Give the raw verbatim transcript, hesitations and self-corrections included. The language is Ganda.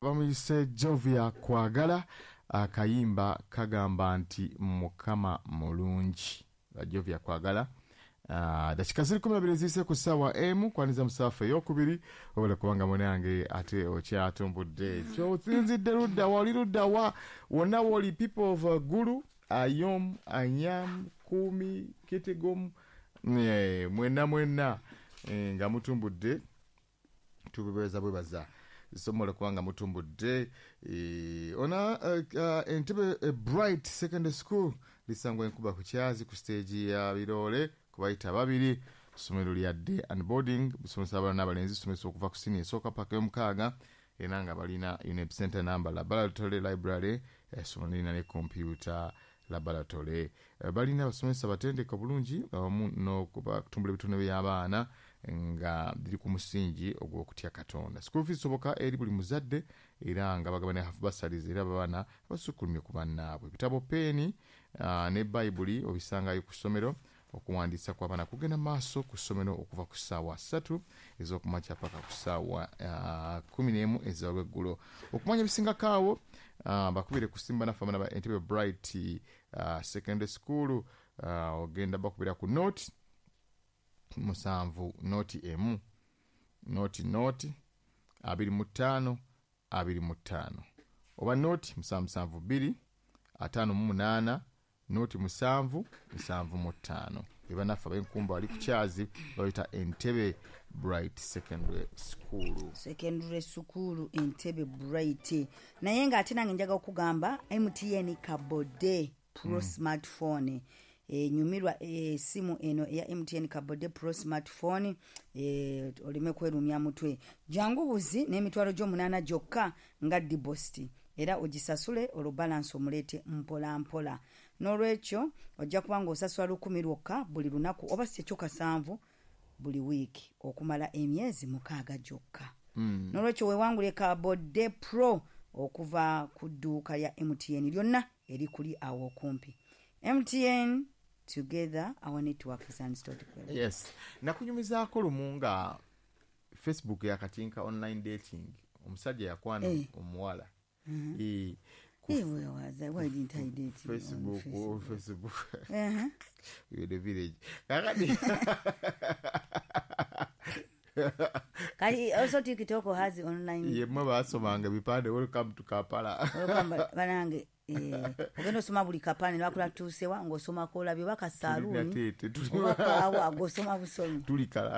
Bamuyise Jovia Kwagala, akayimba kagamba nti Mukama mulungi. Jovia Kwagala. Uh, dakika ziri kumi na bbiri ziyise ku ssaawa emu kwaniza musaafu eyokubiri obala kubanga munange ate okyatumbudde kyosinzidde ludda wa oli ludda wa wonna woli people of uh, Gulu, Ayom, Anyam, Kumi, Kitigom, eh, mwenna mwenna eh, nga mutumbudde tubebaza bwebaza somola kubanga mutumbudde eh, ona uh, uh, Entebbe uh, Bright Secondary School lisangwa enkuba ku Kyazi ku stage ya Birole kubayita babiri ssomero lya day and boarding busomesa abaana n'abalenzi somesa okuva ku senior esooka paka y'omukaaga era nga balina UNEB center number, laboratory, library, essomero lirina ne computer laboratory. Balina abasomesa batendeka bulungi awamu n'okutumbula ebitone by'abaana nga biri ku musingi ogw'okutya Katonda. School fees soboka eri buli muzadde era nga bagabana half bursaries era abaana abasukkulumye ku bannaabwe. Ebitabo, peeni uh, ne Bayibuli obisangayo ku ssomero. Okuwandiisa kw'abaana kugenda maaso ku ssomero okuva ku ssaawa ssatu ez'okumakya paka ku ssaawa uh, kumi n'emu ez'olweggulo. Okumanya ebisingako awo uh, bakubire ku simba naffe abaana ba Entebbe Bright uh, Secondary School, uh, ogenda bakubira ku nought musanvu nought emu nought nought abiri mu ttaano abiri mu ttaano oba nought musanvu musanvu bbiri ataano mu munaana nought musanvu musanvu mu ttaano. Ebanaffe ab'enkumba bali ku Kyazi bayita Entebbe Bright Secondary School. Secondary School Entebbe Bright. Naye ng'ate nange njaga okugamba M T N Kabode Pro mm. smartphone enyumirwa esimu eno eya M T N Kabode Pro smartphone e, oleme kwerumya mutwe. Jangu buzi n'emitwalo gy'omunaana gyokka nga deposit era ogisasule olwo balance omuleete mpola mpola. N'olwekyo ojja kuba ng'osasula lukumi lwokka buli lunaku oba si ekyo kasanvu buli wiiki okumala emyezi mukaaga gyokka mm. N'olwekyo weewangule Kabode Pro okuva ku dduuka lya M T N lyonna erikuli awo okumpi. M T N, together our network is unstoppable. Yes, nakunyumizaako lumu nga Facebook yakatinka online dating, omusajja yakwana Eh. omuwala Eh, ku Hey, where was I? Why didn't I date you on Facebook, oh, Facebook? Facebook. Uh-huh. We the village kakati. Kali also TikTok has online. Ye mwe basomanga ebipande, "Welcome to Kampala." Welcome, banange eh, ogenda osoma buli kapande lwakula tuusewa ng'osomako olabye oba kasaaluuni Tulina tete, tuli- oba kaawa ng'osoma busomi. Tuli kalanga.